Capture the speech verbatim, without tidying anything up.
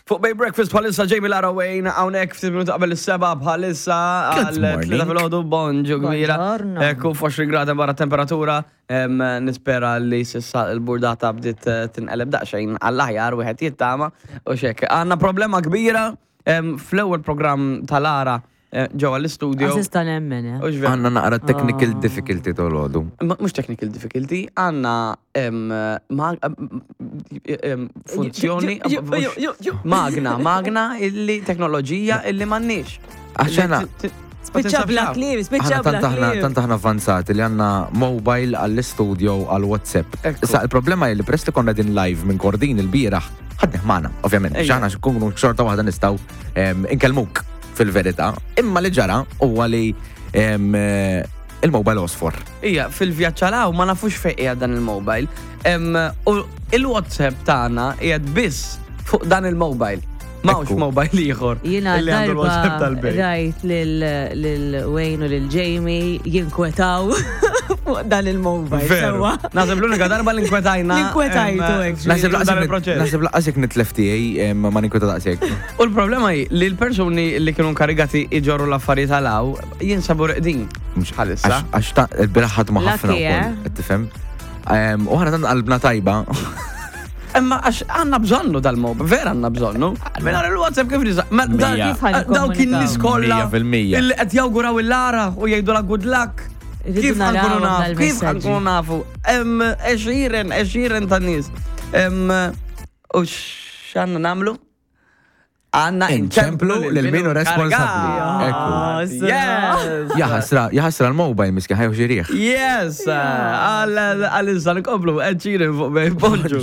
Fuq Bay Breakfast bħalissa Jamie Lara Wayne, hawnhekk ftit minuti qabel is-seba bħalissa Good għal morning. tlieta filgħodu, bonġu kbira. Buongiorno. Ekku għoxrin gradi barra temperatura. Em, Nispera li s'issa il-burdata bdiet eh, tinqeleb daqsxejn għall-aħjar, wieħed jittama u xek. Għandna problema kbira em, fl-ewwel programm tal-Lara eh, ġewwa l-istudio. Assista nemmen, eh. U x'veru? Għandna naqra technical difficulty tol-għodu. Ma- Mhux technical difficulty, għandna em, ma- em, funzjoni, mhux- magna, magna illi teknoloġija illi m'għandniex. Għax għana- Spiċċa bla kliem, spiċċa Aħna bla tant aħna kliem. tant aħna avvanzati li għandna mobile għall-studio għall-WhatsApp. Ekku. Issa il-problema hi li peress li konna din live minn Kordin il-bieraħ, ħadnih magħna, ovvjament, Ejja. x'aħna xkunu xorta waħda nistgħu em, inkellmuk fil-verità. Imma li ġara huwa li em, eh, il-mobile osfor. Ija, fil-vjaġġ għalaw ma nafux fejn qiegħed dan il-mobile. Em, U il-WhatsApp tagħna qiegħed biss fuq dan il-mobile. M'hawnx Ekku. mobile ieħor. Jiena illi għandu l-WhatsApp darba tal-bejt. rajt lil Wayne u lil Jamie jinkwetaw fuq dan il-mobile. Veru. Sewwa. Naħseb l-unika darba li nkwetajna. L-inkwetajtu, em, actually. Naħseb dan laqas il-proċess. naħseb lanqas jekk nitlef tiegħi em, ma ninkweta daqshekk. U l-problema hi li l-persuni li kienu nkarigati iġorru l-affarijiet għalaw jinsabu reqdin. Bħalissa. Għax għax ta' il-bieraħ ħadmu ħafna Lucky, eh? wkoll, qed tifhem? Em, U aħna tant qalbna tajba. Imma għax għandna bżonnu dal-mob, vera għandna bżonnu. Mingħajr il-WhatsApp kif nisa? Ma da- Mija. Kif ħa Dawk in-nies kollha Mija fil-mija. illi qed jawguraw il-Lara u jgħidu la good luck. Irridu Kif ħa nkunu narawhom nafu? Kif dal-messaġġi. ħa nkunu nafu? Hemm għexieren, għexieren ta' nies. Em, U x'għandna nagħmlu? Għandna Inċemplu lil min hu responsabbli. Ekku. Yes! Jaħasra, jaħasra l-mobile miskin ħa jieħu xi riħ. Yes! Għal-issa nkomplu, għexieren fuq Bay, bonġu.